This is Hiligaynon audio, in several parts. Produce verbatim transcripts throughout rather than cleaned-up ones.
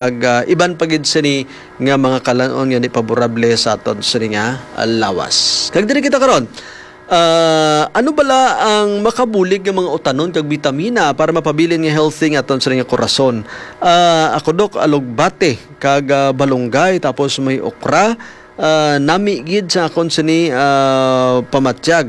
kag, ah, iban pa gid sini nga mga kalan-on nga di paborable sa aton sini nga, ah, lawas. Kag diri kita karon, ah, ano bala ang makabulig nga mga utanon kag bitamina para mapabilin nga healthy nga aton sini nga korason? Ah, ako, Dok, alugbate kag, ah, balunggay, tapos may okra, ah, nami gid sa akon sini, ah, pamatyag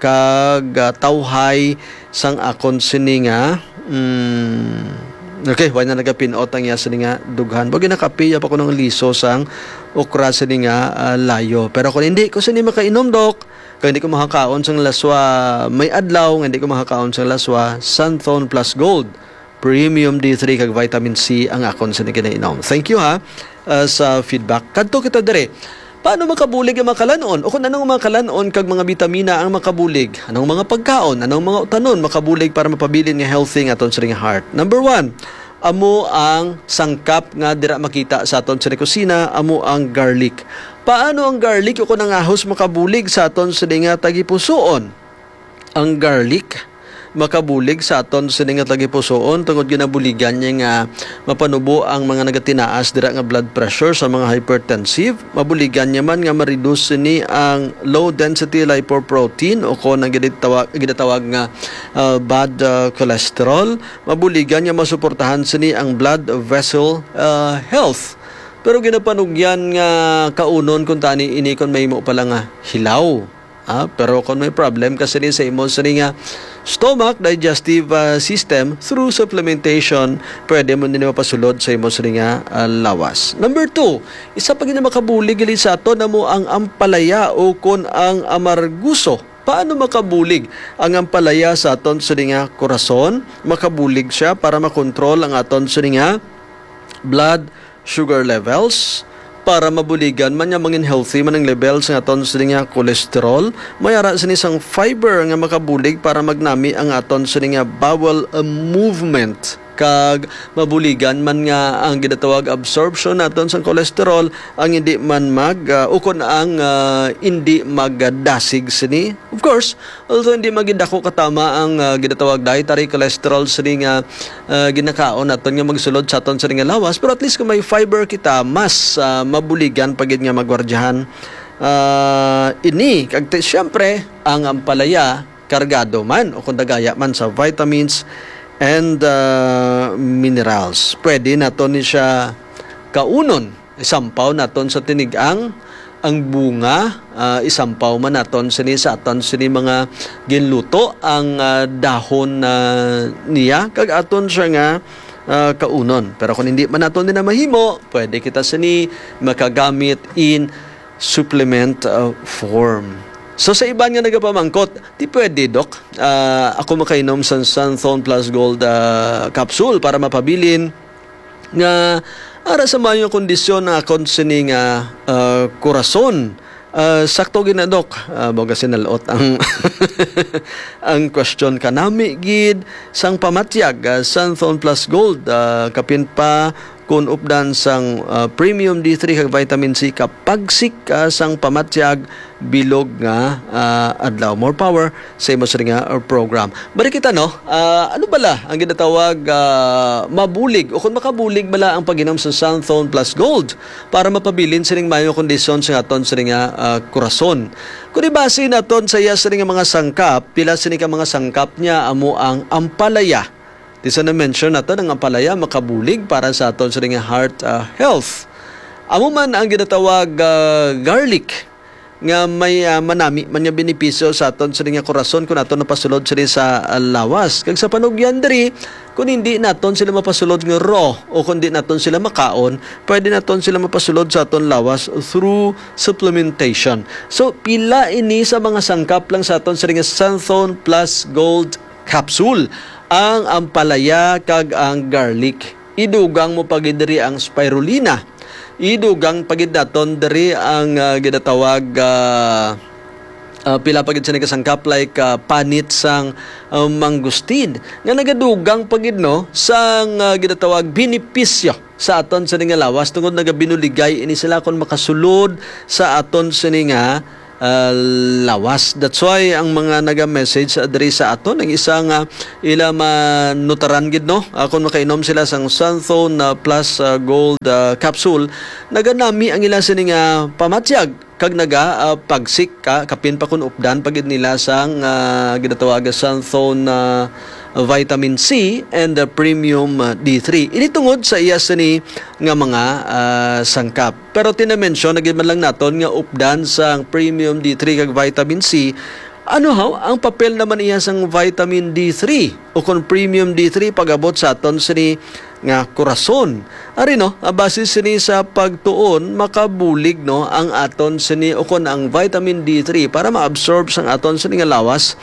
kag, ah, tawhay sang akon sini nga, mm, okay, wala na nagapinot ang iya sini nga dughan. Bagay nakapiya pa ko ng liso sang okra sini nga, ah, layo. Pero kung hindi ko sini makainom, Dok, kung hindi ko makakaon sang laswa may adlaw, nga hindi ko makakaon sang laswa, Santhon Plus Gold. Premium D three kag vitamin C ang akon sa ginainom. Thank you, ha, uh, sa feedback. Kadto kita dire. Paano makabulig ang mga kalanon? O kung anong mga kalanon kag mga bitamina ang makabulig? Anong mga pagkaon? Anong mga utanon makabulig para mapabilin nga healthy nga aton siring heart? Number one, amo ang sangkap nga dira makita sa aton sa kusina, amo ang garlic. Paano ang garlic o kung ang ahos makabulig sa aton sa nga tagipusoon? Ang garlic makabulig sa aton sini nga tagipusoon tungod ginabuligan niya nga mapanubo ang mga nagatinaas dira nga blood pressure sa mga hypertensive. Mabuligan niya man nga ma-reduce sini ang low density lipoprotein o kon ang ginatawag, ginatawag nga, ah, bad, ah, cholesterol. Mabuligan niya masuportahan sini ang blood vessel, ah, health. Pero ginapanugyan nga kaunon kung tani ini kon mahimo pala nga hilaw. Ah, pero kung may problem ka sini sa imo sini nga stomach, digestive, ah, system, through supplementation, pwede mo nini mapasulod sa imo sini nga, ah, lawas. Number two, isa pa gid nga makabulig gali sa aton amo ang ampalaya o kon ang amarguso. Paano makabulig ang ampalaya sa aton sini nga korason? Makabulig siya para makontrol ang aton sini nga blood sugar levels, para mabuligan man nga mangin healthy man ang level sa aton sini nga cholesterol. May ara sini sang fiber nga makabulig para magnami ang aton sini nga bowel, uh, movement, kag mabuligan man nga ang ginatawag absorption naton sang cholesterol ang hindi man mag, uh, ukon ang, uh, hindi magdasig sini. Of course, although hindi magidako katama ang, ah, ginatawag dietary cholesterol sini nga, ah, ginakaon naton nga magsulod sa aton sini nga lawas, pero at least kung may fiber kita, mas, ah, mabuligan pa gid nga magwardyahan, ah, ini. Kag ti-, siyempre, ang ampalaya kargado man o kung dagaya man sa vitamins and, ah, minerals. Pwede naton ni siya kaunon. Isampaw naton sa tinig-ang ang bunga, ah, isampaw man naton sini sa aton sini mga ginluto ang, ah, dahon, ah, niya, kag aton siya nga, ah, kaunon. Pero kung hindi man naton din na mahimo, pwede kita sini makagamit in supplement, ah, form. So, sa iban nga nagapamangkot, di pwede, Dok. Ah, ako makainom sa Santhon Plus Gold, ah, capsule para mapabilin nga ara sa maayo nga kondisyon ang akon sini nga, ah, korason. Ah, sakto gid na, Dok. Ah, mao kasi nalot ang, ang question. Kanami gid sang pamatyag, ah, Santhon Plus Gold, ah, kapin pa kun updan sang, ah, Premium D three kag Vitamin C, kapagsik, ah, sang pamatyag bilog nga, ah, adlaw. More power sa imo sini nga, uh, program. Balik kita, no? Ah, ano bala ang ginatawag, ah, mabulig o kung makabulig bala ang pag-inom sa Santhon Plus Gold para mapabilin sining maayo kondisyon sa aton sini nga, ah, korason? Kung ibase naton sa iya sini nga mga sangkap, pila sini ka mga sangkap niya amo ang ampalaya. Di sa na-mention naton ang ampalaya makabulig para sa aton sini nga heart, ah, health. Amo man ang ginatawag, ah, garlic nga may, ah, manami man nga benepisyo sa aton sini nga korason kung aton napasulod sini sa, ah, lawas. Kag sa panugyan diri, kung hindi naton sila mapasulod nga raw o kung di naton sila makaon, pwede naton sila mapasulod sa aton lawas through supplementation. So, pila ini sa mga sangkap lang sa aton sini nga Santhon Plus Gold Capsule, ang ampalaya kag ang garlic. Idugang mo pa gid diri ang spirulina. Idugang pa gid naton diri ang, ah, ginatawag, ah, ah, pila pa gid sini ka sangkap, like, ah, panit sang, ah, mangustin, nga nagadugang pa gid, no, sang, ah, ginatawag benepisyo sa aton sini nga lawas, tungod nagabinuligay ini sila kon makasulod sa aton sini nga ah, lawas. That's why ang mga naga-message, ah, diri sa aton, ang isa nga ila manutaran gid, no? Ah, kung makainom sila sang Santhon, ah, Plus, ah, Gold, ah, capsule, naganami ang ila sini nga pamatyag kag naga, ah, pagsik ka, kapin pa kun updan pa gid nila sang, ah, ginatawag nga Santhon, ah, vitamin C and the premium, ah, D three. Ini tungod sa iya sini nga mga, ah, sangkap. Pero tinamensyon na gid man lang naton nga updan sang premium D three kag vitamin C. Ano haw ang papel naman iya sang vitamin D three o kon premium D three pag-abot sa aton sini nga kurason? Ari, no, ah, base sini sa pagtuon, makabulig, no, ang aton sini o kon ang vitamin D three para ma-absorb sang aton sini nga lawas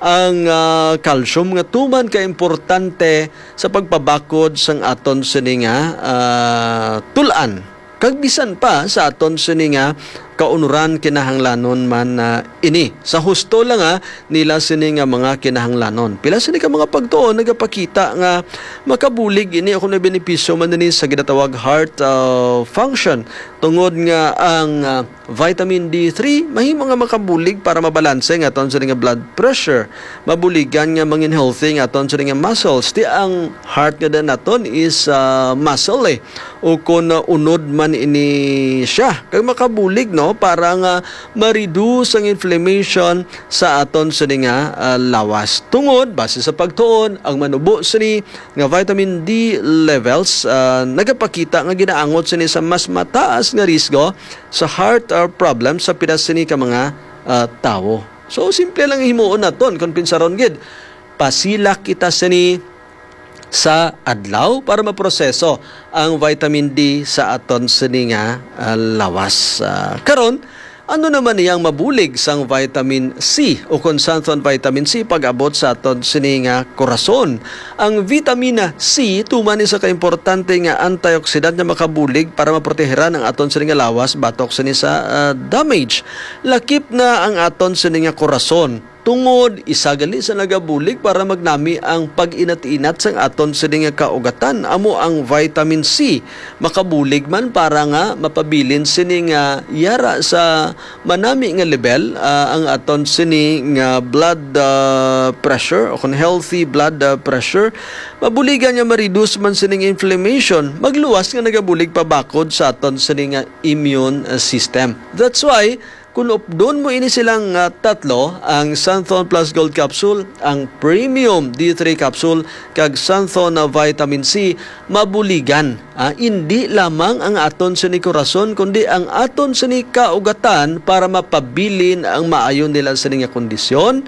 ang, ah, calcium nga tuman ka importante sa pagpabakod sang aton sini nga, ah, tul-an. Kag bisan pa sa aton sini nga kaunuran, kinahanglanon man na ini. Sa husto lang, ah, nila sini nga mga kinahanglanon. Pila sini ka mga pagtuon nagapakita nga makabulig ini o kung may benepisyo man ini sa ginatawag heart, ah, function. Tungod nga ang, ah, vitamin D three mahimo nga makabulig para mabalanse nga aton sini nga blood pressure. Mabuligan nga mangin healthy nga aton sini nga muscles. Ti ang heart nga daan naton is, ah, muscle, eh. O kon, ah, unod man ini siya. Kag makabulig, no, para nga ma-reduce ang inflammation sa aton sini nga, ah, lawas. Tungod, base sa pagtuon, ang manubo sini nga vitamin D levels, ah, nagapakita nga ginaangot sini sa mas mataas nga risgo sa heart, ah, problem sa pila sini ka mga, ah, tawo. So, simple lang himuon naton kon pinsaron gid. Pasilak kita sini sa adlaw para maproseso ang vitamin D sa aton sini nga, ah, lawas. Ah, karon, ano naman niyang mabulig sang vitamin C o kon Santhon vitamin C pag-abot sa aton sini nga kurason? Ang vitamina C tuman ni sa kaimportante nga antioxidant nga makabulig para maproteheran ang aton sini nga lawas batok sini sa, ah, damage. Lakip na ang aton sini nga kurason. Tungod, isa gali sa nagabulig para magnami ang pag-inat-inat sang aton sini nga kaugatan, amo ang vitamin C. Makabulig man para nga mapabilin sini nga yara sa manami nga level, ah, ang aton sini nga blood, ah, pressure o kon healthy blood, ah, pressure. Mabuligan nga ma-reduce man sining inflammation, magluwas nga nagabulig pabakod sa aton sini nga immune, ah, system. That's why, kung updon mo ini silang, ah, tatlo, ang Santhon Plus Gold Capsule, ang Premium D three Capsule, kag Santhon na Vitamin C, mabuligan, ah, indi lamang ang aton sini korason, kundi ang aton sini kaugatan para mapabilin ang maayo nila sini nga kondisyon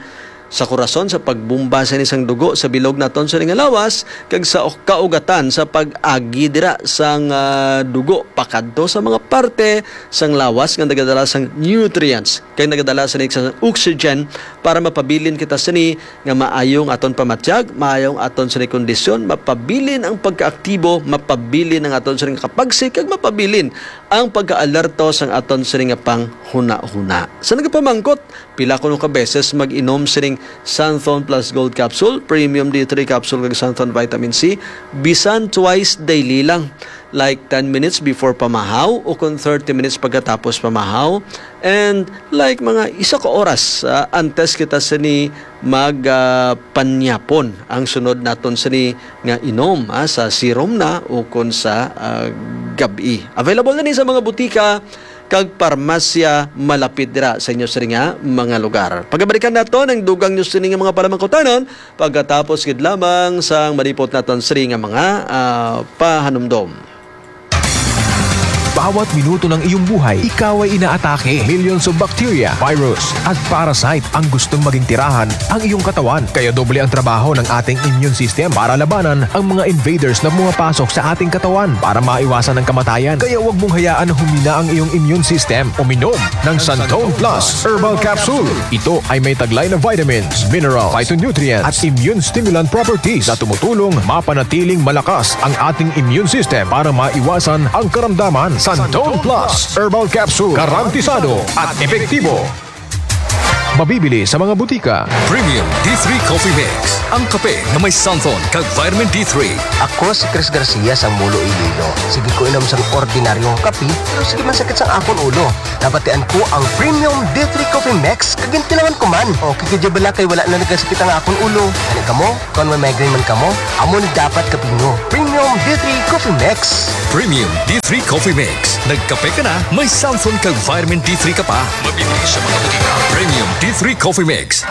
sa korason, sa pagbomba sini sang dugo sa bilog naton sini nga lawas, kag sa kaugatan sa pag-agi dira sang, ah, dugo pakadto sa mga parte sang lawas nga nagadala sang nutrients kag nagadala sini sa oxygen para mapabilin kita sini nga maayo ang aton pamatyag, maayo ang aton sini kondisyon, mapabilin ang pagkaaktibo, mapabilin ang aton sini nga kapagsik, kag mapabilin ang pagkaalerto sang aton sini nga panghunahuna. Sa nagapamangkot, pila kuno ka beses mag-inom sining Santhon Plus Gold Capsule, Premium D three Capsule, kag Santhon Vitamin C, bisan twice daily lang, like ten minutes before pamahaw o kung thirty minutes pagkatapos pamahaw, and like mga isa ka oras, ah, antes kita sini mag, ah, panyapon ang sunod naton sini nga inom, ah, sa serum na o kon sa, ah, gab-i. Available na ni sa mga butika kag parmasya malapit dira sa inyo sini nga mga lugar. Pagabalikan naton ang dugang nyo sini nga mga palamangkutanon pagkatapos gid lamang sang malipot naton sini nga mga, ah, pahanumdom. Bawat minuto ng iyong buhay, ikaw ay inaatake. Millions of bacteria, virus, at parasite ang gustong maging tirahan ang iyong katawan. Kaya doble ang trabaho ng ating immune system para labanan ang mga invaders na pumapasok sa ating katawan para maiwasan ang kamatayan. Kaya huwag mong hayaan na humina ang iyong immune system. Uminom ng Santon Plus Herbal Capsule. Ito ay may taglay na vitamins, mineral, phytonutrients, at immune stimulant properties na tumutulong mapanatiling malakas ang ating immune system para maiwasan ang karamdaman. Santon Plus Herbal Capsule, garantisado at epektibo. Mabibili sa mga butika. Premium D three Coffee Mix, ang kape nga may xanthone kag vitamin D three. Ako si Chris Garcia sang Molo, Iloilo. Sige ko inom sang ordinaryong kape, pero sige man sakit sang akon ulo. Nabatian ko ang Premium D three Coffee Mix, kag gintilawan ko man. Okay gid bala kay wala na nagasakit ang akon ulo. Ani kamo? Kon may migraine man kamo, amo ni dapat kape nyo. Premium D three Coffee Mix. Premium D three Coffee Mix. Nagkape ka na, may xanthone kag vitamin D three ka pa. Mabibili sa mga butika. Premium D three Coffee Mix.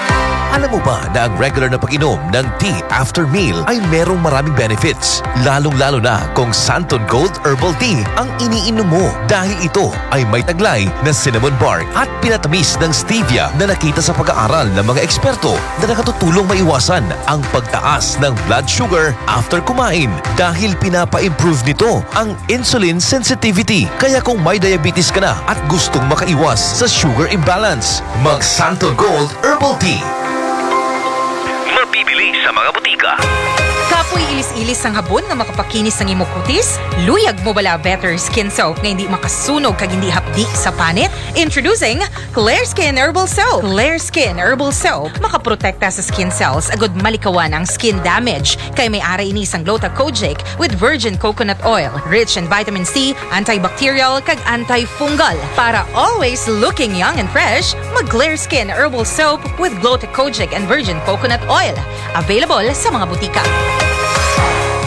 Alam mo ba na ang regular na pag-inom ng tea after meal ay merong maraming benefits? Lalong-lalo na kung Santon Gold Herbal Tea ang iniinom mo, dahil ito ay may taglay na cinnamon bark at pinatamis ng stevia na nakita sa pag-aaral ng mga eksperto na nakatutulong maiwasan ang pagtaas ng blood sugar after kumain, dahil pinapa-improve nito ang insulin sensitivity. Kaya kung may diabetes ka na at gustong makaiwas sa sugar imbalance, mag Santon Gold Herbal Tea. Mabibili sa mga butika. Kapoy ilis-ilis sang habon nga makapakinis sang imo kutis? Luyag mo bala better skin soap nga hindi makasunog kag hindi hapdi sa panit? Introducing Clear Skin Herbal Soap. Clear Skin Herbal Soap makaprotekta sa skin cells agud malikawan ang skin damage, kay may ara ini sang Gluta Kojic with virgin coconut oil, rich in vitamin C, antibacterial kag antifungal. Para always looking young and fresh, mag Clear Skin Herbal Soap with Gluta Kojic and virgin coconut oil. Available sa mga butika.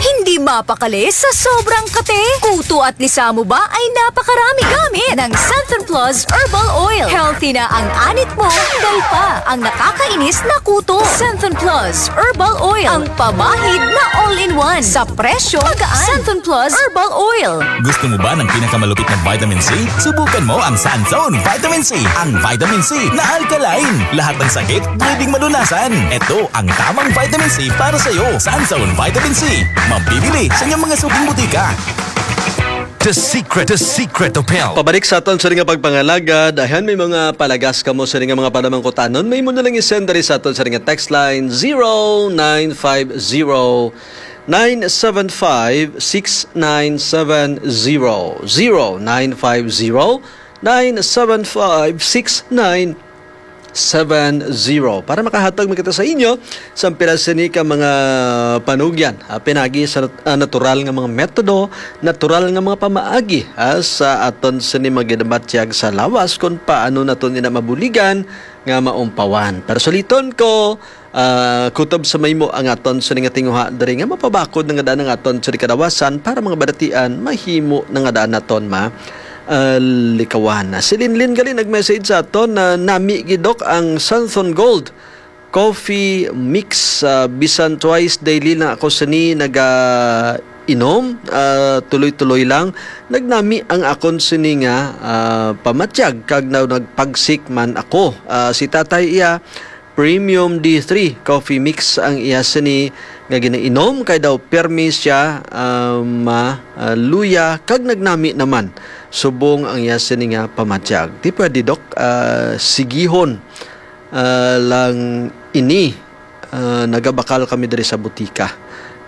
Hindi mapakali sa sobrang kate. Kuto at lisamo ba ay napakarami? Gamit ng Santon Plus Herbal Oil. Healthy na ang anit mo, tanggal pa ang nakakainis na kuto. Santon Plus Herbal Oil, ang pamahid na all-in-one. Sa presyo, magaan. Santon Plus Herbal Oil. Gusto mo ba ng pinakamalupit na vitamin C? Subukan mo ang Sanzone Vitamin C. Ang vitamin C na alkaline. Lahat ng sakit pwedeng malunasan. Ito ang tamang vitamin C para sa iyo. Sanzone Vitamin C. Mabibili sa inyong mga suking butika. The secret, the secret of health. Pabalik sa aton sa nga pagpangalaga, dahan may mga palagas kamo sa nga mga panamangkutanon, may mo na lang i-send diri sa aton sa nga text line zero nine five zero, nine seven five, six nine seven zero, zero nine five zero, nine seven five, six nine seven zero. Para makahatag man kita sa inyo sa pila sini ka mga panugyan, ah, pinagi sa nat-, ah, natural nga mga metodo, natural nga mga pamaagi, ah, sa aton sini maginabatyag sa lawas kung paano naton ina mabuligan nga maumpawan. Pero suliton ko, ah, kutob sa maymo ang aton sini nga tinguha diri nga mapabakod na nga daan ang aton sini kadawasan para mga balatian mahimo na nga daan naton ma ah, likawan. Si Linlin gali nag-message sa aton na nami gid, Dok, ang Santhon Gold Coffee Mix. Ah, bisan twice daily lang ako sini naga inom, ah, tuloy-tuloy lang. Nagnami ang akon sini nga, ah, pamatyag kag na nagpagsik man ako. Ah, si tatay iya, Premium D three Coffee Mix ang iya sini nga ginainom, kay daw permi siya, ah, ma-, ah, luya kag nagnami naman subong ang iya sini nga pamatyag. Di pwede, Dok, ah, sigihon, ah, lang ini. Ah, nagabakal kami diri sa butika.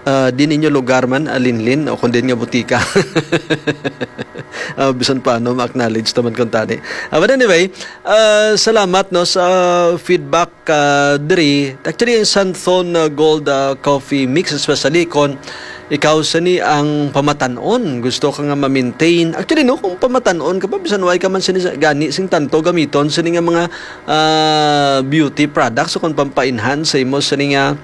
Ah, di ninyo lugar man, ah, Linlin, o kung din nga butika. Ah, bisan paano, ma-acknowledge naman kung tani. Ah, but anyway, ah, salamat, no, sa feedback, ah, diri. Actually, ang Santhon, ah, Gold, ah, Coffee Mix, especially kung ikaw sini ang pamatan-on, gusto ka nga ma-maintain. Actually, no, kung pamatan-on ka pa, bisan way ka man sini sa, gani sing tanto gamiton sini nga mga, ah, beauty products o kung pampa-enhance sa imo sini nga,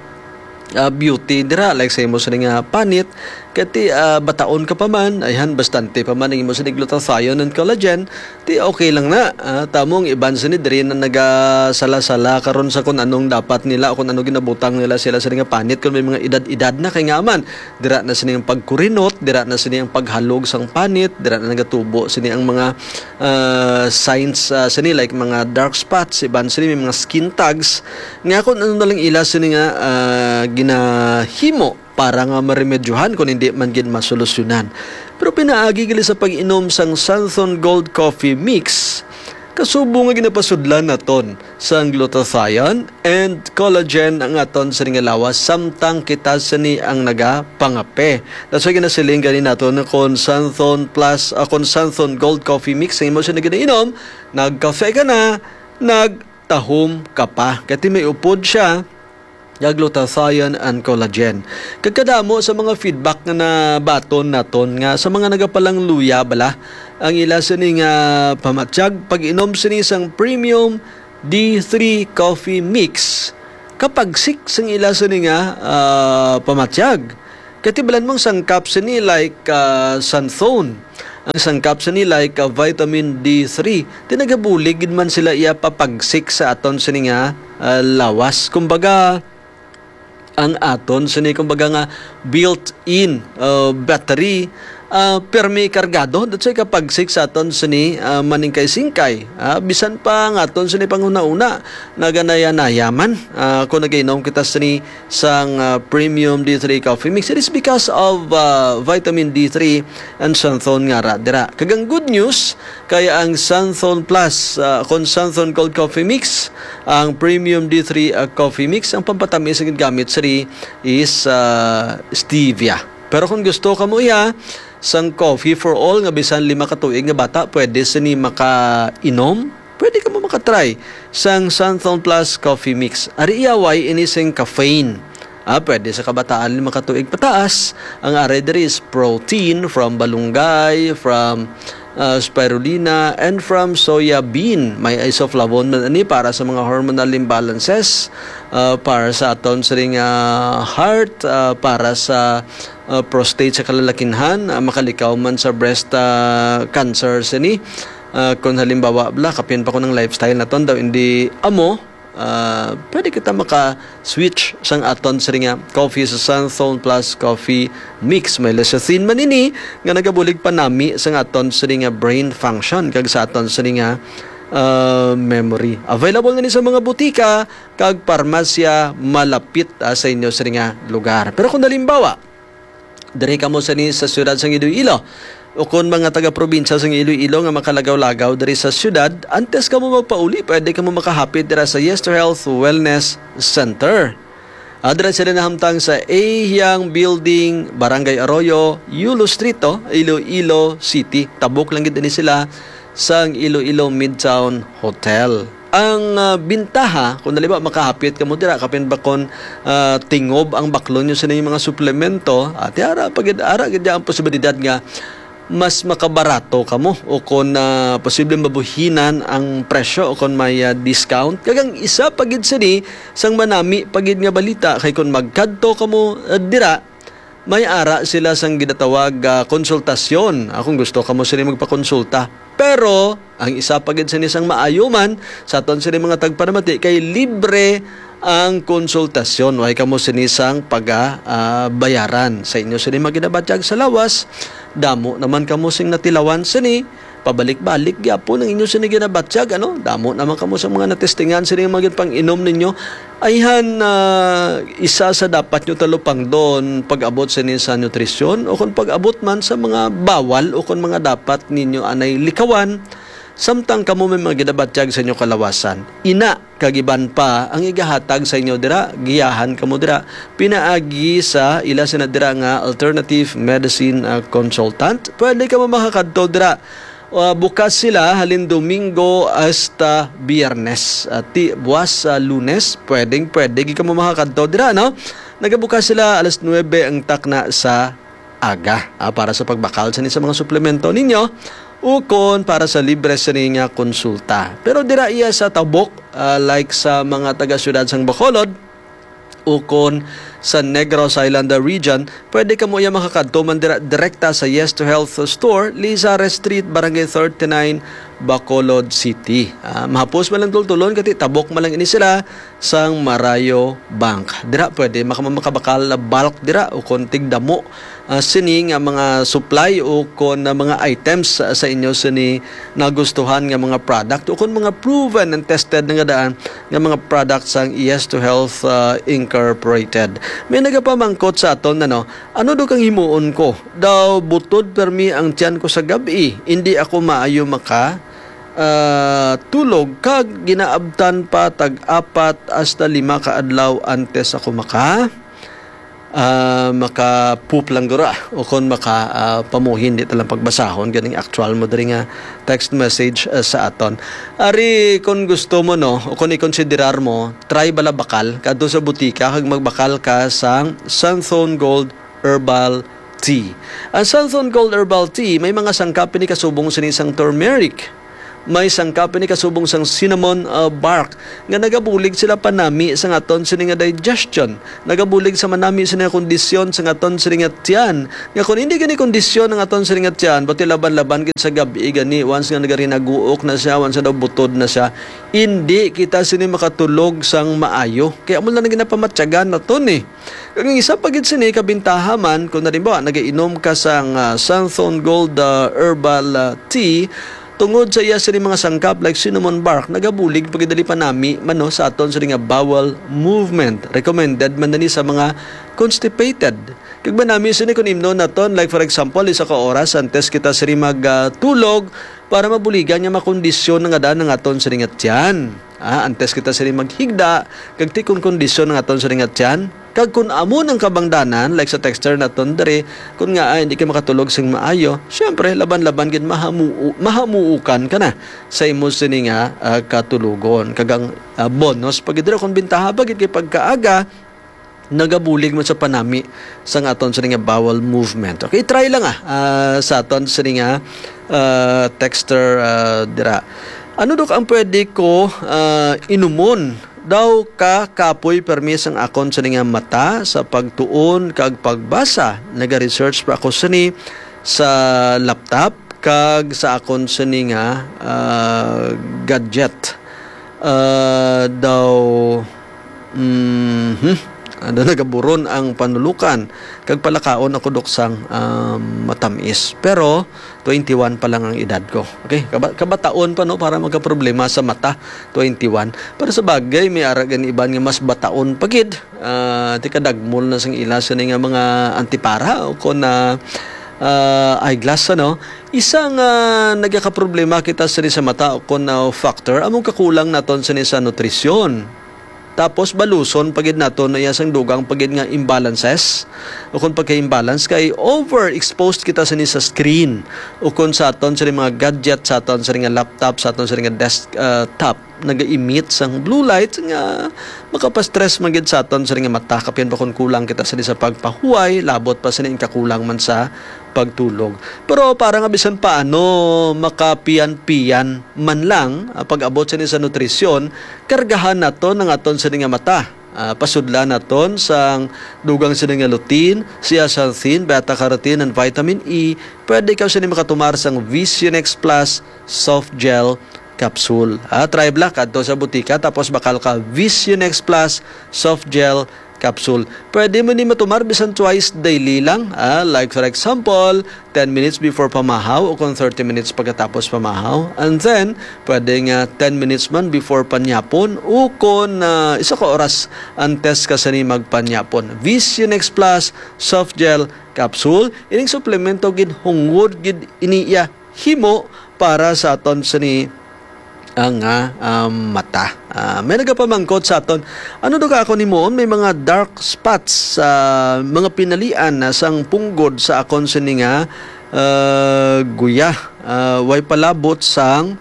ah, beauty dira, like sa imo sini nga panit, kati, ah, bataon ka pa man, ayhan, bastante pa man ang imo sini glutathione and collagen, ti okay lang na. Ah, tamo ang iban sini diri na nagasala-sala karon sa kung anong dapat nila o kung ano ginabutang nila sila sa nga panit kung may mga edad-edad na, kay nga man dira na sini ang pagkurinot, dira na sini ang paghalog sang panit, dira na nagatubo sini ang mga, ah, signs, ah, sini, like mga dark spots, iban sini may mga skin tags, nga kung ano na lang ila sini nga, ah, ginahimo para nga maremedyohan kung hindi man gid masolusyonan. Pero pinaagi gali sa pag-inom sang Santhon Gold Coffee Mix, kasubo nga ginapasudlan naton sang glutathione and collagen ang aton sini nga lawas, samtang kita sini ang nagapangape. That's why ginasiling gani naton na kung Santhon Plus, ah, kung Santhon Gold Coffee Mix ang imo sini ginainom, nagkafe ka na, nag tahom ka pa. Kati may upod siya nga glutathione and collagen. Kag kadamo sa mga feedback nga nabaton naton nga sa mga nagapalangluya bala ang ila sini nga pamatyag, pag-inom sini sang premium D three coffee mix, kapagsik sang ila sini nga, ah, pamatyag. Katibalan mong sangkap sini like, ah, xanthone. Ang sangkap sini like, ah, vitamin D three. Tinagabulig gid man sila iya papagsik sa aton sini nga, ah, lawas. Kumbaga, ang aton sini, kumbaga nga, built-in, ah, battery, ah, permi kargado. That's why kapagsik sa aton sini, ah, maningkay-singkay. Ah, bisan pa ang aton sini panghuna-una, naganaya-naya man, ah, kung nagainom kita sini sang, ah, premium D three coffee mix. It is because of, ah, vitamin D three and xanthone nga ra dira. Kag ang good news, kay ang Xanthone Plus, ah, kon Xanthone Cold Coffee Mix, ang Premium D three, ah, Coffee Mix, ang pampatamis nga gamit sini is, ah, stevia. Pero kung gusto ka mo iya, sang coffee for all nga bisan lima ka tuig nga bata, pwede sini makainom. Pwede ka mo makatry sang Xanthone Plus Coffee Mix. Ari iya way ini sing caffeine. Ah, pwede sa kabataan lima ka tuig pataas. Ang aray diri is protein from balunggay, from, ah, spirulina, and from soya bean. May isoflavone man ani para sa mga hormonal imbalances, ah, para sa aton siring, ah, heart, ah, para sa, ah, prostate sa kalalakinhan, ah, makalikaw man sa breast, ah, cancer sini. Ah, kung halimbawa, bla, kapin pa ko ng lifestyle naton daw, hindi amo, ah, pwede kita maka-switch sang aton siring nga coffee sa Xanthone Plus Coffee Mix. May lecithin man ini nga nagabulig panami sang aton siring nga brain function kag sa aton siring nga, ah, memory. Available na ni sa mga butika kag parmasya malapit, ah, sa inyo siring nga lugar. Pero kung halimbawa, diri kamo sini sa siyudad sang Iloilo, o kon mga taga-probinsya sang Iloilo nga makalagaw-lagaw diri sa siyudad, antes kamo magpauli, pwede kamo makahapit dira sa Yes to Health Wellness Center. Ah, dira sila nahamtang sa Ahiang Building, Barangay Arroyo, Yulo Street, oh, Iloilo City. Tabok lang gid ini sila sang Iloilo Midtown Hotel. Ang, ah, bintaha, kung halimbawa makahapit kamo dira, kapin ba kon, ah, tingob ang baklon nyo sa inyong mga suplemento, ati ara pa gid, ara gid ang posibilidad nga mas makabarato kamo o kon, ah, posible mabuhinan ang presyo o kon may, ah, discount. Kag ang isa pa gid sini, sang manami pa gid nga balita, kay kon magkadto kamo, ah, dira, may ara sila sang ginatawag, ah, konsultasyon. Ah, kung gusto kamo sini magpakonsulta. Pero ang isa pa gid sini sang maayo man sa aton sini mga tagpanamati kay libre ang konsultasyon. Way kamo sini sang paga, ah, bayaran. Sa inyo sini maginabatyag sa lawas, damo naman kamo sing natilawan sini. Pabalik-balik gyapon ang inyo sini ginabatyag, ano? Damo naman kamo sa mga natestingan sini nga mga ginpang-inom ninyo. Ayhan, ah, isa sa dapat nyo talupangdon pag-abot sini sa nutrisyon o kung pag-abot man sa mga bawal o kung mga dapat ninyo anay likawan, samtang kamo may mga ginabatyag sa inyo kalawasan. Ina, kag iban pa ang igahatag sa inyo dira, giyahan kamo dira pinaagi sa ila sina dira nga alternative medicine, ah, consultant. Pwede kamo makakadto dira. Ah, bukas sila halin Domingo hasta Biyernes. Ah, ti-, buwas sa Lunes, pwedeng pwede gid kamo makakadto dira, no? Nagabukas sila alas nuebe ang takna sa aga, ah, para sa pagbakal sini sa mga suplemento ninyo ukon para sa libre sini nga konsulta. Pero dira iya sa tabok, ah, like sa mga taga-siyudad sang Bacolod ukon sa Negros Island region, pwede kamo iya makakadto man dira direkta sa Yes to Health Store, Lizares Street, Barangay thirty-nine, Bacolod City. Ah, mahapos man lang tultulon, kati tabok man lang ini sila sang Marayo Bank. Dira pwede maka-, makabakal na bulk dira o kon tigdamo, ah, sini nga mga supply o kon, ah, mga items, ah, sa inyo sini nagustuhan nga mga product o kon mga proven and tested na nga daan nga mga product sang Yes to Health, ah, Incorporated. May nagapamangkot sa aton, ano, ano do kang himuon ko? Daw butod permi ang tiyan ko sa gab-i, hindi ako maayo maka, ah, tulog kag ginaabtan pa tag apat hasta lima ka adlaw antes ako maka, ah, maka-poop lang guro, ah, o kon maka, ah, pamuhin, di ta lang pagbasahon ganing actual mo diri nga text message, ah, sa aton. Ari, kung gusto mo, no, o kung ikonsiderar mo, try bala bakal, kadto sa butika, kag magbakal ka sang Santhon Gold Herbal Tea. Ang Santhon Gold Herbal Tea, may mga sangkap ini kasubong sini sang turmeric. May sangkap ini kasubong sang cinnamon, ah, bark, nga nagabulig sila panami sa aton sini nga digestion. Nagabulig sa manami sini nga kondisyon sa aton sini nga tiyan. Nga kung hindi gani kondisyon ang aton sini nga tiyan, pati laban-laban gid sa gabi gani, once nga nagarinaguok na siya, once na daw butod na siya, hindi kita sini makatulog sang maayo. Kaya amo lang na ginapamatyagan naton eh. Kag ang isa pa gid sini kabintaha man, kung halimbawa nagainom ka sang, ah, Santhon Gold, ah, Herbal, ah, Tea, tungod sa iya sini mga sangkap like cinnamon bark, nagabulig pa gid dali panami man, no, sa aton sini nga bowel movement. Recommended man na ni sa mga constipated. Kag manami sini kung imnon naton, like for example, isa ka oras antes kita sini mag, ah, tulog para mabuligan nga makondisyon na nga dan ang aton sini nga tiyan. Ah, antes kita sini maghigda, kag tikon kondisyon ang aton sini nga tiyan. Kag kun amo nang kabangdanan, like sa texter naton diri, kun nga, ay, hindi ka makatulog sing maayo, syempre, laban-laban gid mahamu-, mahamuukan ka na sa imo sini nga, ah, katulogon. Kag ang, ah, bonus pa gid dira, kung bintaha pa gid kay pagkaaga, nagabulig man sa panami sang aton sini nga bowel movement. Okay, try lang, ah, ah, sa aton sini nga, ah, texter, ah, dira. Ano, Dok, ang pwede ko, ah, inumon? Daw ka kapoy permi sang akon sini nga mata sa pagtuon kag pagbasa. Naga-research pa ako sini sa laptop kag sa akon sini nga, ah, gadget. Ah, daw, mhm, daw nagaburon ang panulukan kag palakaon ako, Dok, sang, ah, matamis. Pero twenty-one pa lang ang edad ko. Okay, kaba-, kabataon pa, no, para magkaproblema sa mata, twenty-one. Pero sa bagay, may ara gani iban nga mas bataon pa gid. Ah, ti kadagmol na sang ila sini nga mga antipara o kon, ah, ah, eyeglass, ano. Isa nga nagakaproblema kita sini sa mata o kon, ah, factor, among kakulang naton sini sa nutrisyon. Tapos baluson pa gid naton na iya sang dugang pa gid nga imbalances o kon pagka-imbalance kay overexposed kita sini sa screen o kon sa aton sini mga gadget, sa aton sini nga laptop, sa aton sini nga desk, ah, top, naga-emit sang blue light nga makapastress man gid sa aton sini nga mata, kapin pa kon kulang kita sini sa pagpahuway, labot pa sini ang kakulang man sa pagtulog. Pero para nga bisan paano makapiyan-piyan man lang, ah, pag-abot sini sa nutrisyon, kargahan naton ang aton sini nga mata. Ah, pasudlan naton sang dugang sini nga lutein, zeaxanthin, beta-carotene, and vitamin E. Pwede ikaw sini makatumar sang Visionex Plus Soft Gel Capsule. Ah, try bala kadto sa butika, tapos bakal ka Visionex Plus Soft Gel Capsule. Pwede mo ni matumar bisan twice daily lang. Ah, like for example, ten minutes before pamahaw o kung thirty minutes pagkatapos pamahaw. And then, pwede nga ten minutes man before panyapon o kung, ah, isa ka oras antes ka sini magpanyapon. Visionex Plus Soft Gel Capsule. Ining suplemento ginhungod gid ini iya himo para sa aton sini ang, ah, um, mata. Ah, may nagapamangkot sa aton, "Ano daw ka akon himuon? May mga dark spots sa mga pinalian na sang punggod sa akon sini nga, ah, guya. Ah, way palabot sang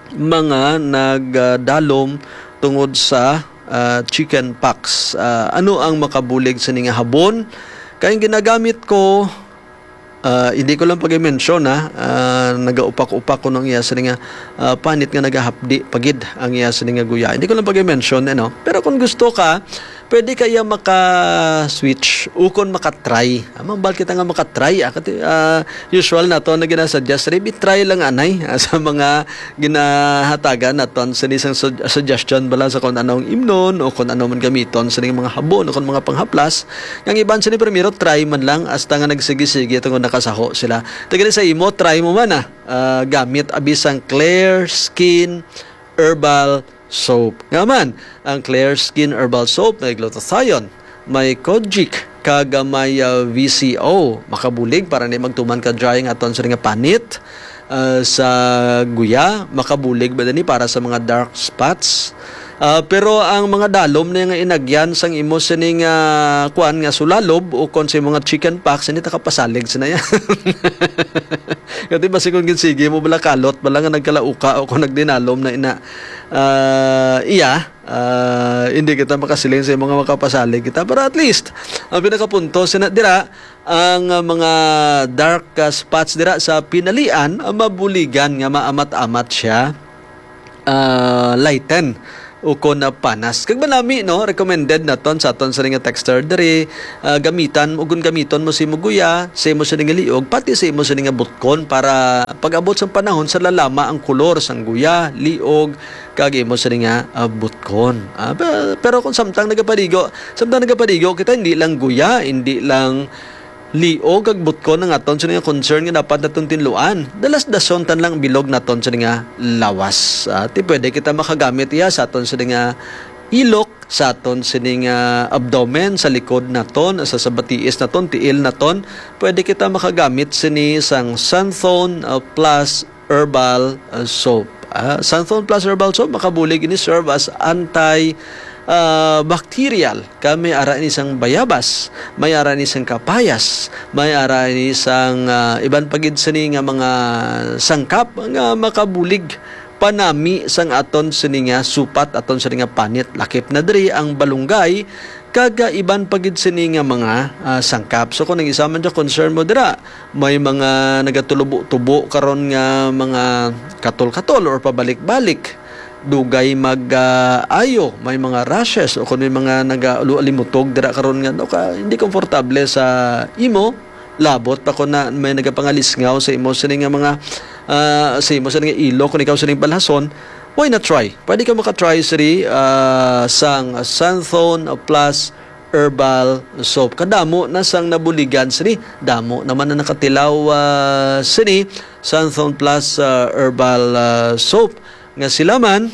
mga nagdalom tungod sa, ah, chicken pox. Ah, ano ang makabulig sini nga habon? Kay ang ginagamit ko, ah, hindi ko lang pag-mention, ha, ah, nagaupak-upak ko ng iya sini nga, ah, panit nga nagahapdi pagid ang iya sini nga guya. Hindi ko lang pag-mention, ano. Pero kung gusto ka, pwede kaya maka-switch o kung maka-try. Ah, mambal kita nga maka-try, ah, kati, ah, usual na to na ginasuggest, maybe try lang anay, ah, sa mga ginahatagan naton sini sang sug-, suggestion bala sa kung anong imnon o kung ano man gamiton sining mga habon o kung mga panghaplas. Ang iban sini primero try man lang hasta nga nagsigi-sige tungod nakasaho sila. Tagali sa imo, try mo man, ah, ah, gamit abi sang Clear Skin Herbal Soap. Nga man, ang Clear Skin Herbal Soap may glutathione, may kojic, kag may, ah, V C O. Makabulig para ni magtuman ka dry nga aton sa nga panit. ah, sa guya, makabulig ba ni para sa mga dark spots? Ah, pero ang mga dalom na nga inagyan sang imo sining, ah, kuan nga sulalob o kon sa mga chicken pox, hindi ta kapasalig sa na yan. Kati basi kung ginsigi mo bala kalot, bala nga nagkalauka o kung nagdinalom na ina, ah, iya, ah, hindi kita makasiling sa mga makapasalig kita. Pero at least, ang pinakapunto, sina, dira, ang, ah, mga dark, ah, spots dira sa pinalian, ah, mabuligan nga maamat-amat siya, ah, lighten o kon, ah, panas. Kag manami, no, recommended naton sa aton sa nga texter diri, ah, gamitan, ug kung gamiton mo sa imo guya, sa imo sa nga liog, pati sa imo sa nga butkon para pag-abot sa panahon sa lalama ang kolor sang guya, liog, kag imo sa nga, ah, butkon. Ah, pe-, pero kung samtang nagapaligo, samtang nagapaligo kita, hindi lang guya, hindi lang liog kag butkon ang aton sa nga concern nga dapat naton tinluan. Dalas-dason tan lang bilog naton sa nga lawas. Ah, ti pwede kita makagamit iya sa aton sa nga ilok, sa aton sini nga abdomen, sa likod naton, sa, sa batiis naton, tiil naton. Pwede kita makagamit sini sang Santhon, ah, plus herbal, ah, soap. Ah, Santhon plus herbal soap, makabulig ini serve as anti, ah, bacterial. Kay may ara ini sang bayabas, may ara ini sang kapayas, may ara ini sang, ah, iban pa gid sini nga mga sangkap nga makabulig panami sang aton sini nga supat, aton sini nga panit. Lakip na diri ang balunggay, kag, ah, iban pa gid sini nga mga, ah, sangkap. So, kung ang isa man dyan concern mo dira, may mga nagatubo-tubo karon nga mga katol-katol or pabalik-balik, dugay mag, ah, ayo, may mga rashes, o kung may mga nagalimutog dira karon nga, no, ka, hindi komportable sa imo, labot pa kung na may nagapangalisngaw sa imo sini nga mga, ah, sa imo sini nga ilok, kung ikaw sini balhason, why not try? Pwede ka maka-try sini, ah, sang Santhon Plus Herbal Soap. Kadamo na sang nabuligan sini. Damo naman na nakatilaw, ah, sini Santhon Plus, ah, Herbal, ah, Soap, nga sila man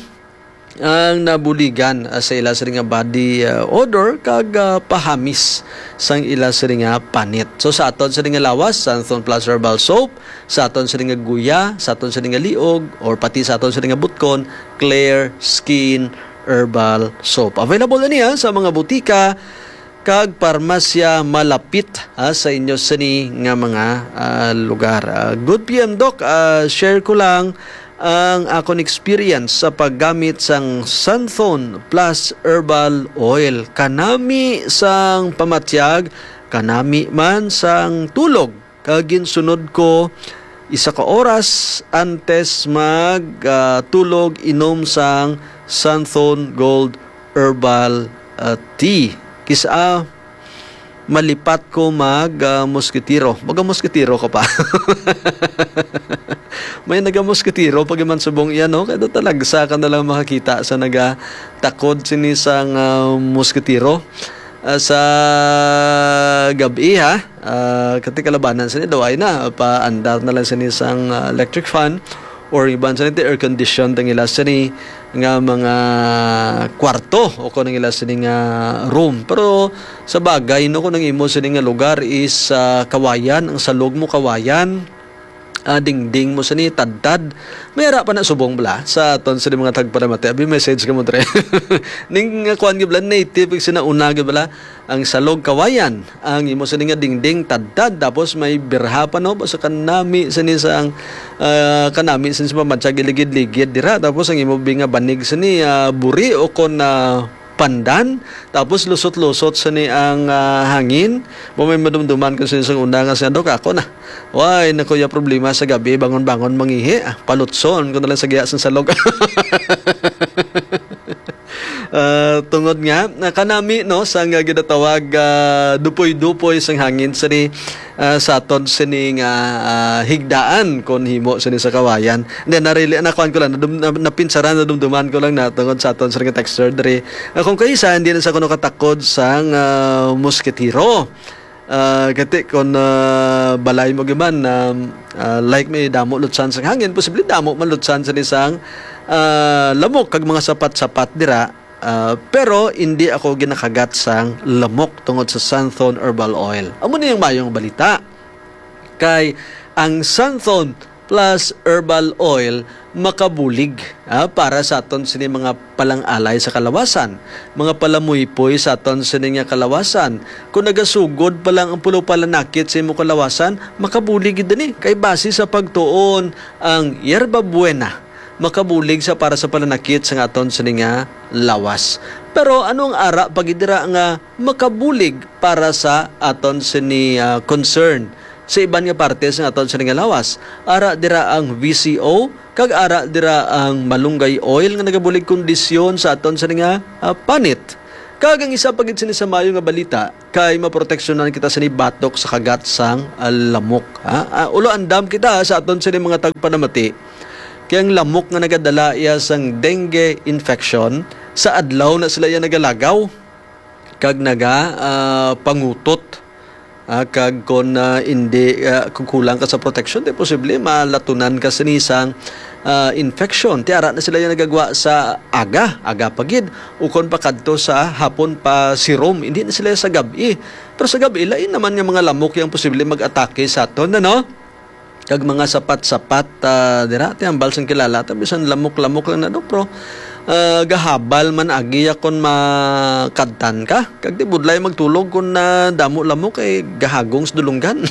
ang nabuligan, ah, sa ila sini nga body, ah, odor kag, ah, pahamis sang ila sini nga panit. So, sa aton sini nga lawas, Santhon Plus Herbal Soap, sa aton sini nga guya, sa aton sini nga liog, or pati sa aton sini nga butkon, Clear Skin Herbal Soap. Available na niya sa mga butika kag parmasya malapit, ah, sa inyo sini nga mga, ah, lugar. Ah, good P M, Doc. Ah, share ko lang ang akon experience sa paggamit sang Santhon Plus Herbal Oil. Kanami sang pamatyag, kanami man sang tulog. Kag ginsunod ko isa ka oras antes mag, ah, tulog, inom sang Santhon Gold Herbal, ah, Tea. Kis-a malipat ko mag, ah, moskitiro. Maga moskitiro ka pa. May naga moskitiro pag iman subong iya, no? Kaya talagsa ka na lang makakita sa nagatakod sini sang, ah, moskitiro. Ah, sa gab-i, ha? Ah, kati kalabanan sini daw ay na, paandar na lang sini sang, ah, electric fan or iban sini ti air condition tang ila sini nga mga kwarto o kung ang ila sini nga room. Pero sa bagay, no, kung ang imo sini nga lugar is, ah, kawayan, ang salog mo kawayan, ah, dingding mo sini tadtad, may ara pa na subong bala sa aton sini mga tagparamati. Abi, message ka mo, Dre. Ning, ah, kuwan gyud bala, native, sinauna gyud bala, ang salog kawayan, ang imo sini nga dingding tadtad, tapos may birha pa, no? Basta kanami sini sa ang, ah, kanami sini sa pamansag iligid-ligid dira, tapos ang imo bi nga banig sini, ah, buri o kon, ah, pandan, tapos lusot-lusot sini ang, ah, hangin. Mo may madumduman ko sini sa una nga siya, "Dok, ako na. Way na kuya problema sa gabi, bangon-bangon mangihi. Ah, palutson ko na lang sa giya sang salog." Ah, tungod nga, na kanami, no, sa nga ginatawag, ah, dupoy-dupoy sang hangin sini, ah, sa aton sini nga, ah, higdaan kon himo sini sa kawayan. Hindi, narili, nakuan ko lang, nadum-, na-, napinsaran, nadumduman ko lang na tungod sa aton sini nga texter diri. Ah, kung kaisa, hindi na sa kuno katakod sang, ah, moskitiro. Ah, kati kon, ah, balay mo giman na, ah, like may damo lutsan sang hangin, posible damo man lutsan sa isang, ah, lamok kag mga sapat-sapat dira. Ah, pero hindi ako ginakagat sang lamok tungod sa Santhon Herbal Oil. Amo ni ang mayong balita. Kay ang Santhon plus herbal oil makabulig, ah, para sa aton sini mga palangalay sa kalawasan, mga palamuypoy sa aton sini nga kalawasan. Kung nagasugod pa lang ang pulo palanakit sa imo kalawasan, makabulig gid ini. Kay base sa pagtuon, ang yerba buena makabulig sa para sa palanakit sa aton sini nga lawas. Pero ano ang ara pa gid dira nga makabulig para sa aton sini, ah, concern sa iban nga parte sa aton sini nga lawas? Ara dira ang V C O, kag ara dira ang malunggay oil nga nagabulig kondisyon sa aton sini nga, ah, panit. Kag ang isa pa gid sini sa maayo nga balita kay maproteksyonan kita sini batok sa kagat sang, ah, lamok, ha? Ah, ulo andam kita sa aton sini mga tagpanamati. Kay ang lamok nga nagadala iya sang dengue infection, sa adlaw na sila iya nagalagaw kag naga, ah, pangutot. Ah, kag kon, ah, indi, ah, kung kulang ka sa proteksyon, di posible malatunan ka sini sang, ah, infection. Ti ara na sila yung nagagwa sa aga, aga pa gid, ukon pa kadto sa hapon pa sirom, hindi na sila sa gab-i. Pero sa gab-i, lain naman nga mga lamok yung posible mag-atake sa aton, ano? Kag mga sapat-sapat, ah, dira, ti ambal sang kilala ta, bisan lamok-lamok lang na, Dok, pero, ah, gahabal man agi ya kon makadtan ka. Kag di budlay magtulog kon, ah, damo lamok, eh, gahagong sa dulunggan.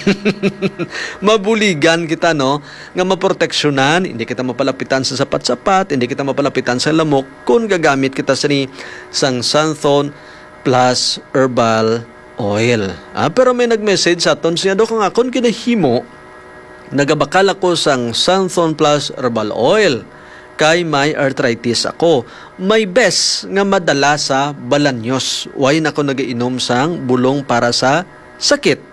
Mabuligan kita, no, nga maproteksyonan, hindi kita mapalapitan sa sapat-sapat, hindi kita mapalapitan sa lamok, kon gagamit kita sini sang Santhon plus herbal oil. Ah, pero may nag-message sa aton, siya, "Dok, ang akon ginahimo, nagabakal ako sang Santhon Plus Herbal Oil kay may arthritis ako. May bes nga madala sa balanyos. Way na ko nagainom sang bulong para sa sakit.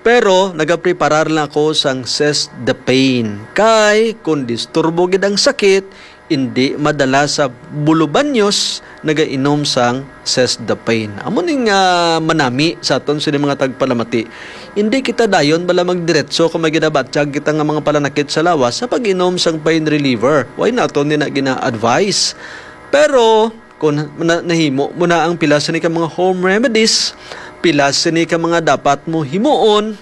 Pero nagapreparar lang ako sang Seize the Pain. Kay kung disturbo gid ang sakit, indi madala sa bulubanyos, nagainom sang Seize the Pain." Amo ning, ah, manami sa aton sini mga tagpalamati. Indi kita dayon bala magdiretso kung may ginabatyag kita nga mga palanakit sa lawas sa pag-inom sang pain reliever. Way naton ni na gina-advise. Pero kung na, nahimo mo na ang pila sini ka mga home remedies, pila sini ka mga dapat mo himuon,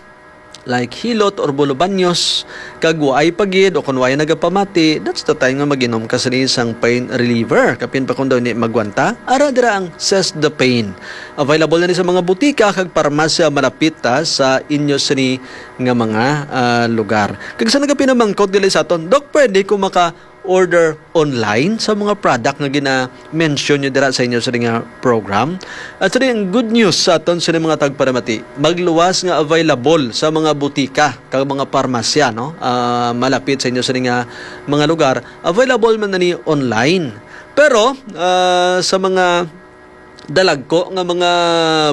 like hilot or bulubanyos, kag waay pa gid o kon waay nagapamati, that's the time nga mag-inom ka sini sang pain reliever. Kapin pa kung daw ni magwanta, ara dira ang Seize the Pain. Available na ni sa mga butika kag parmasya malapit ta sa inyo sini nga mga, ah, lugar. Kag sa nagapinamangkot dili sa aton, "Dok, pwede ko maka-order online sa mga product nga gina-mention nyo dira sa inyo sa nga program?" At sa ang good news sa aton sa mga tagparamati, magluwas nga available sa mga butika kag mga parmasya, no? Ah, malapit sa inyo sa nga mga lugar, available man na ni online. Pero, ah, sa mga dalagko nga mga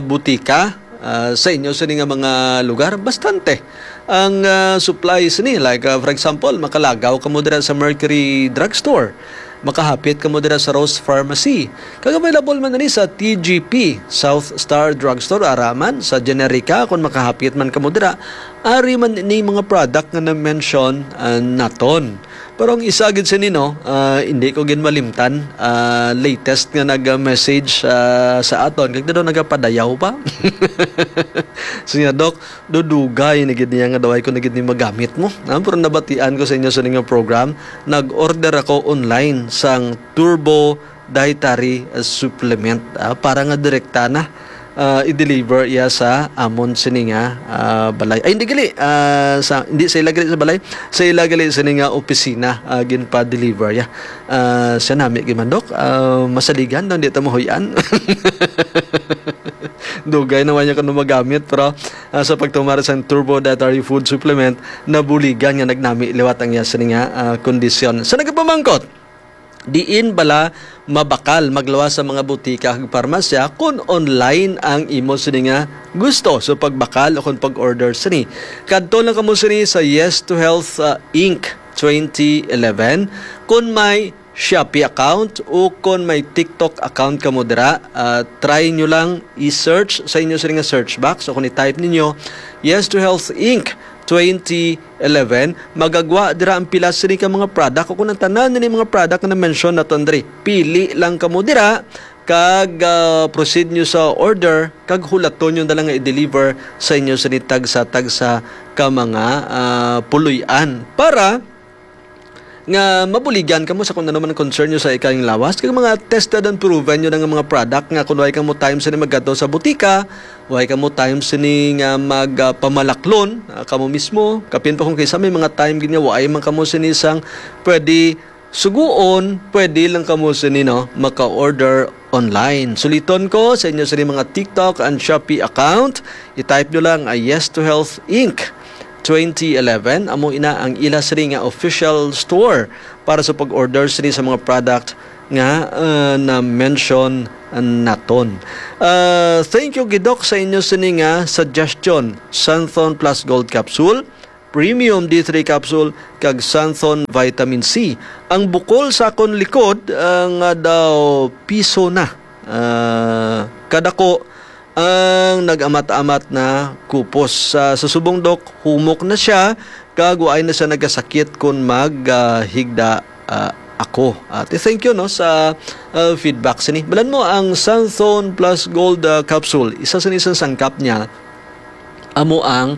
butika, ah, sa inyo sini nga mga lugar, bastante ang, ah, supply sini. Like, ah, for example, makalagaw kamo dira sa Mercury Drugstore, makahapit kamo dira sa Rose Pharmacy. Kag available man ni sa T G P, South Star Drugstore, ara man sa Generica, kung makahapit man kamo dira, ari man ni mga product nga na-mention, ah, naton. Pero ang isa gid sini, no, ah, hindi ko gid malimtan, ah, latest nga nag-message, ah, sa aton, kag daw nagapadayaw pa. Siya, "Dok, dudugay na gid niya nga daw ay ko na gid ni magamit mo." Ah, pero nabatian ko sa inyo sa inyong program, nag-order ako online sang Turbo Dietary, ah, Supplement, ah, para nga direkta na ah, i-deliver iya sa amon sini nga, ah, balay. Ay, hindi gali, ah, sa, hindi sa ila gali sa balay, sa ila gali sini nga opisina, ah, ginpa-deliver iya. Ah, siya nami gid man, Dok, ah, masaligan daw, di ta mahuy-an. Dugay naman niya kung magamit, pero, ah, sa pagtumar sa Turbo Dietary Food Supplement, nabuligan nga nagnami liwat ang iya sini nga, ah, kondisyon. Sa nagapamangkot, diin bala mabakal magluwas sa mga butika kag parmasya kon online ang imo sini nga gusto sa pagbakal o kon pag-order sini? Kadto lang kamo sini sa Yes to Health, uh, Inc twenty eleven. Kon may Shopee account o kon may TikTok account kamo dira, uh, try nyo lang i-search sa inyo sini nga search box o kon i-type ninyo Yes to Health Inc twenty eleven, magagwa dira ang pila sini ka mga product o kung ang tanan ni mga product na mention naton diri. Pili lang kamo dira kag, ah, proceed nyo sa order kag hulaton nyo na lang nga i-deliver sa inyo sini tagsa-tagsa ka mga, ah, puloy-an para nga mabuligan kamo sa kung ano man ang concern nyo sa ikayong lawas, kag mga tested and proven nyo na nga mga product, nga kung way kamo time sini magkadto sa butika, way kamo time sini nga mag, ah, pamalaklon, ah, kamo mismo. Kapin pa kung kaysa may mga time gid nga way man kamo sini sang pwede suguon, pwede lang kamo sini, no, maka-order online. Suliton ko sa inyo sini mga TikTok and Shopee account. I-type nyo lang, ah, Yes to Health Inc twenty eleven. Amo ina ang ila sini nga official store para sa pag-order sini sa mga product nga, ah, na-mention naton. Ah, thank you gid, Doc, sa inyo sini nga suggestion. Xanthone Plus Gold Capsule, Premium D three Capsule, kag Xanthone Vitamin C. Ang bukol sa akon likod, ah, nga daw piso na. Ah, kadako ang nag-amat-amat na kupos. Sa, sa subong, Doc, humok na siya, kag waay na siya nagkasakit kon mag, ah, higda, ah, ako. At thank you, no, sa, ah, feedback sini. Balan mo ang Xanthone Plus Gold, ah, capsule. Isa sini sa sangkap niya amo ang,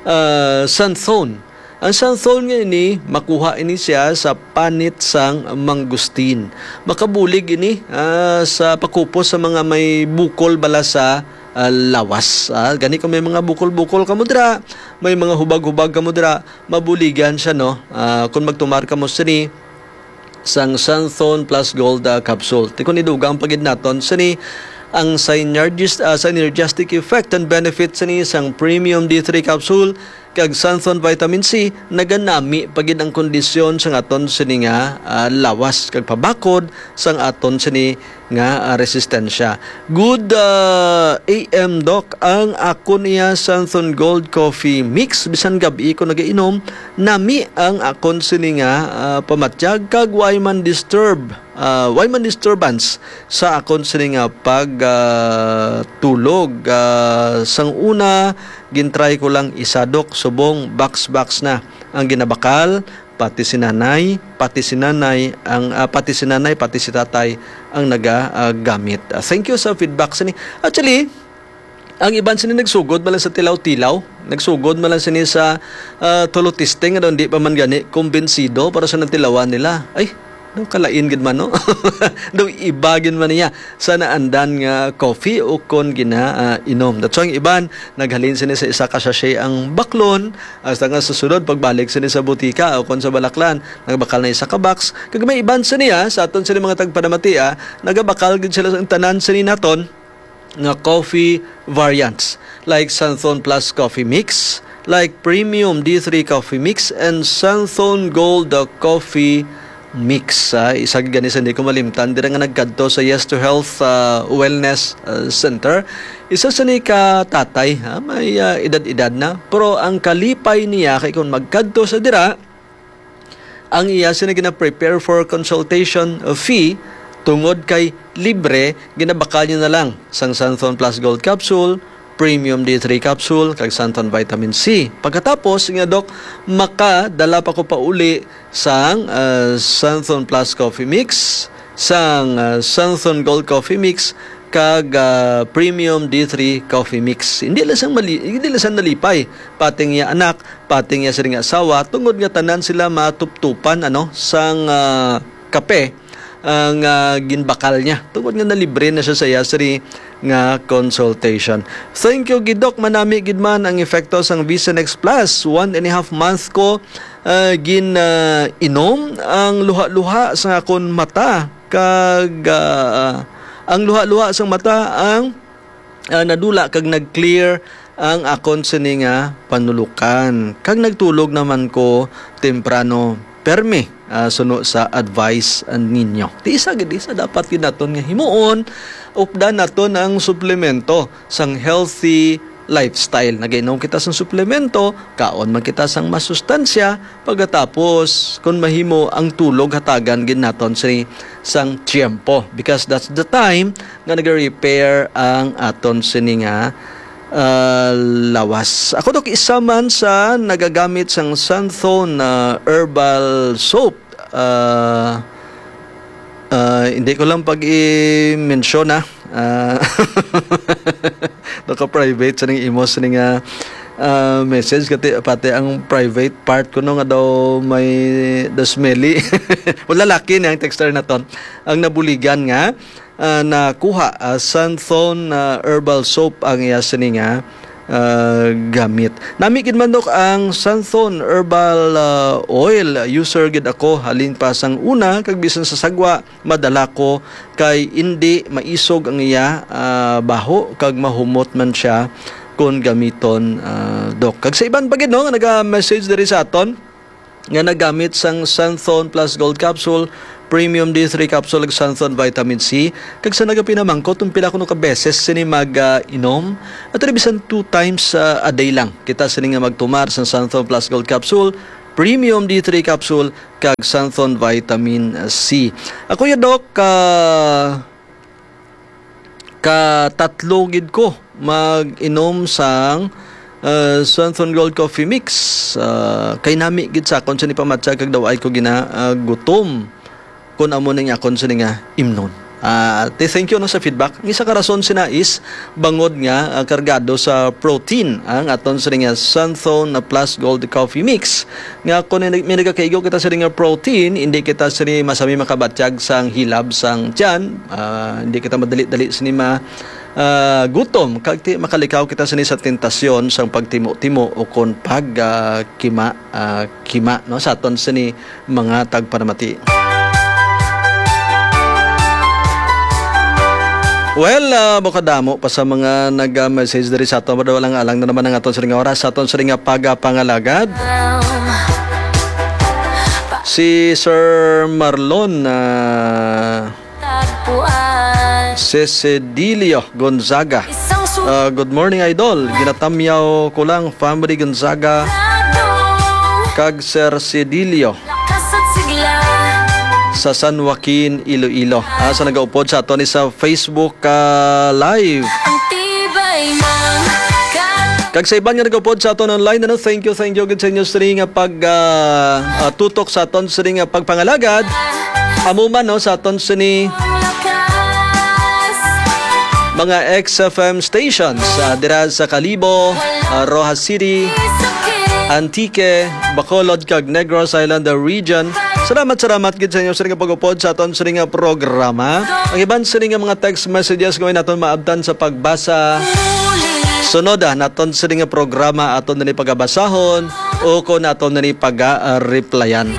ah, xanthone. Ang xanthone nga ini, makuha ini siya sa panit sang mangustin. Makabulig ini, ah, sa pakupos sa mga may bukol bala sa, ah, lawas. Ah, gani kung may mga bukol-bukol kamo dira, may mga hubag-hubag kamo dira, mabuligan siya, no? Ah, kung magtumar kamo sini, sang Xanthone Plus Gold, ah, capsule. Ti kung idugang pa gid naton sini, ang synergis-, ah, synergistic effect and benefit sini sang Premium D three capsule kag Xanthone Vitamin C, naganami pa gid ang kondisyon sang aton sini nga, ah, lawas kag pabakod sang aton sini nga, ah, resistensya. Good, ah, A M, Doc, ang akon iya Xanthone Gold Coffee Mix, bisan gab-i ko nagainom, nami ang akon sini nga, ah, pamatyag kag way man disturb, ah, way man disturbance sa akon sini nga pag, ah, tulog. Ah, sang una, gintry ko lang isa, Doc, subong box-box na ang ginabakal, pati si nanay, pati si nanay ang, ah, pati si nanay, pati si tatay ang naga, ah, gamit. Ah, thank you sa feedback sini. Actually, ang iban sini nagsugod man lang sa tilaw-tilaw, nagsugod man lang sini sa, ah, tulo testing, ano, hindi pa man gani kumbinsido para sa natilawan nila. Ay, daw kalain gid man, no? Daw iba gid man niya sa naandan nga coffee o kon gina, ah, inom. That's why ang iban naghalin sini sa isa ka sachet ang baklon, hasta nga sa sunod pagbalik sini sa butika o kon sa balaklan, nagbakal na isa ka box. Kag may iban sini, ah, sa aton sini mga tagpanamati, ah, nagabakal gid sila sa tanan sini naton nga coffee variants, like Xanthone Plus Coffee Mix, like Premium D three Coffee Mix, and Xanthone Gold, uh, Coffee Mix. Ah, isa gani sa hindi ko malimtan, dira nga nagkadto sa Yes to Health, ah, Wellness, ah, Center. Isa sa ni ka tatay, ha, may, ah, edad-edad na, pero ang kalipay niya kay kung magkadto sa dira, ang iya sini gina-prepare for consultation fee, tungod kay libre, ginabakal niya na lang sang Xanthone Plus Gold Capsule, Premium D three Capsule, kag Xanthone Vitamin C. Pagkatapos, nga, Doc, makadala pa ko pauli sang, ah, Xanthone Plus Coffee Mix, sang, ah, Xanthone Gold Coffee Mix, kag, ah, Premium D three Coffee Mix. Hindi lang sang mali-, hindi lang sang nalipay, pati ang iya anak, pati ang iya sini nga asawa, tungod nga tanan sila matuptupan, ano, sang, ah, kape, ah, nga ginbakal niya. Tungod nga nalibre na siya sa iya sini nga consultation. Thank you gid, Doc. Manami gid man ang epekto sang Vision X Plus. One and a half month ko, ah, gin, ah, inom. Ang luha-luha sa akon mata kag, ah, ang luha-luha sang mata ang, ah, nadula kag nag-clear ang akon sini nga panulukan. Kag nagtulog naman ko temprano, permi, ah, suno sa advice, ah, ninyo. Ti isa gid, isa dapat gid naton nga himuon, updan naton ang suplemento sang healthy lifestyle. Nagainom kita sang suplemento, kaon man kita sang masustansya, pagkatapos, kung mahimo, ang tulog hatagan gid naton sini sang tiyempo, because that's the time nga nag-repair ang aton sini nga, ah, lawas. Ako, Doc, isa man sa nagagamit sang Xanthone, ah, herbal soap. Ah, ah, hindi ko lang pag-i-mention, ah. Ah, naka-private sa ning imo sa ning, ah, Ah, message kati, pati ang private part ko, no, nga daw may, daw smelly. Wala, laki ni ang texter naton. Ang nabuligan nga, ah, nakuha, ah, Santhon, ah, herbal soap ang iya sini nga, ah, gamit. Nami gid man, Dok, ang Santhon herbal, ah, oil. User gid ako halin pa sang una, kag bisan sa sagwa, madala ko kay indi maisog ang iya, ah, baho kag mahumot man siya kon gamiton, ah, Dok. Kag sa iban pa gid, no, nga naga-message diri sa aton nga nagamit sang Santhon Plus Gold Capsule, Premium D three Capsule, ug Santhon Vitamin C, kag sa nagapinamangkot kung pila kuno ka beses sini mag, ah, inom, at bisan two times, ah, a day lang kita sini nga magtumar sang Santhon Plus Gold Capsule, Premium D three Capsule, kag Santhon Vitamin C. Ako ya, Doc, ka, ka tatlo gid ko mag-inom sang, uh, Santhon Gold Coffee Mix. Uh, kay nami gid sa akon sini pamatyag kag daw ay ko gina, uh, gutom kun amo ning akon sini nga imnon. Ah, ti, thank you, no, sa feedback. Ang isa ka rason sina is bangod nga, ah, kargado sa protein ang aton sini nga Santhon na Plus Gold Coffee Mix. Nga kung ni-, may nagakaigo kita sa nga protein, hindi kita sini masami makabatyag sang hilab sang tiyan. Ah, hindi kita madali-dali sini ma, ah, gutom. Kag ti, makalikaw kita sini sa tentasyon sang pagtimo-timo o kon pag, ah, kima, ah, kima, no, sa aton sini mga tagpanamati. Well, ah, bukod damo pa sa mga nag-message diri sa aton, pero walang alang na naman ang aton sining oras, sa aton sining nga pagapangalagad. Si Sir Marlon, ah, Cecedilio Gonzaga. Ah, good morning, Idol. Ginatamyaw ko lang, family Gonzaga kag Sir Cedilio sa San Joaquin, Iloilo. Ah, sa nagaupod sa aton ni sa Facebook, ah, Live. Kag sa iban nga nagaupod sa aton online, ano, thank you, thank you gid sa inyo sini nga pag, ah, ah, tutok sa aton sini nga pagpangalagad. Amo man, no, sa aton sini mga X F M stations, ah, dira sa Kalibo, ah, Roxas City, Antique, Bacolod, kag Negros Island region. Salamat, salamat gid sa inyo sini nga pag-upod sa aton sini nga programa. Ang iban sini nga mga text messages nga naton maabtan sa pagbasa. Sunod, ah, naton sini nga programa aton na ni pagabasahon o kung naton na ni paga-replyan.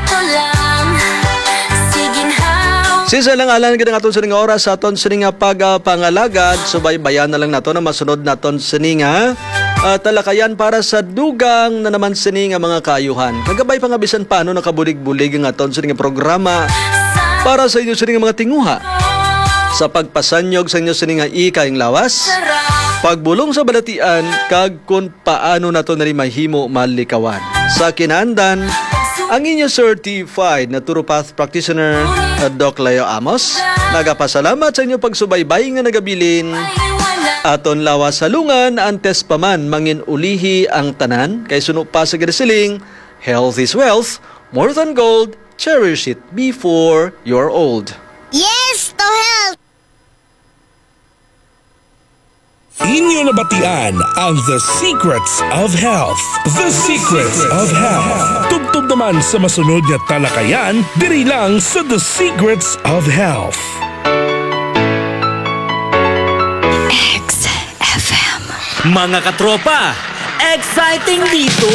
Sisa lang alang gid ang aton sining oras sa aton sining nga pagapangalagad. Subaybayan na lang nato na masunod naton sini nga, ah, talakayan para sa dugang na naman sini nga mga kaayuhan. Kagabay pa nga bisan paano nakabulig-bulig ang aton sini nga programa para sa inyo sini nga mga tinguha sa pagpasanyog sa inyo sini nga ikayang lawas, pagbulong sa balatian, kag kun paano nato nari mahimo malikawan. Sa kinandan, ang inyo certified naturopath practitioner, uh, Doc Leo Amos, nagapasalamat sa inyo pagsubaybay nga nagabilin. Aton lawas halungan, antes pa man mangin-ulihi ang tanan, kay suno pa sa ginasiling, "Health is wealth, more than gold, cherish it before you're old." Yes to health! Inyo nabatian ang The Secrets of Health. The Secrets of Health. Tubtob naman sa masunod nga talakayan, diri lang sa The Secrets of Health. X F M. Mga katropa, exciting dito!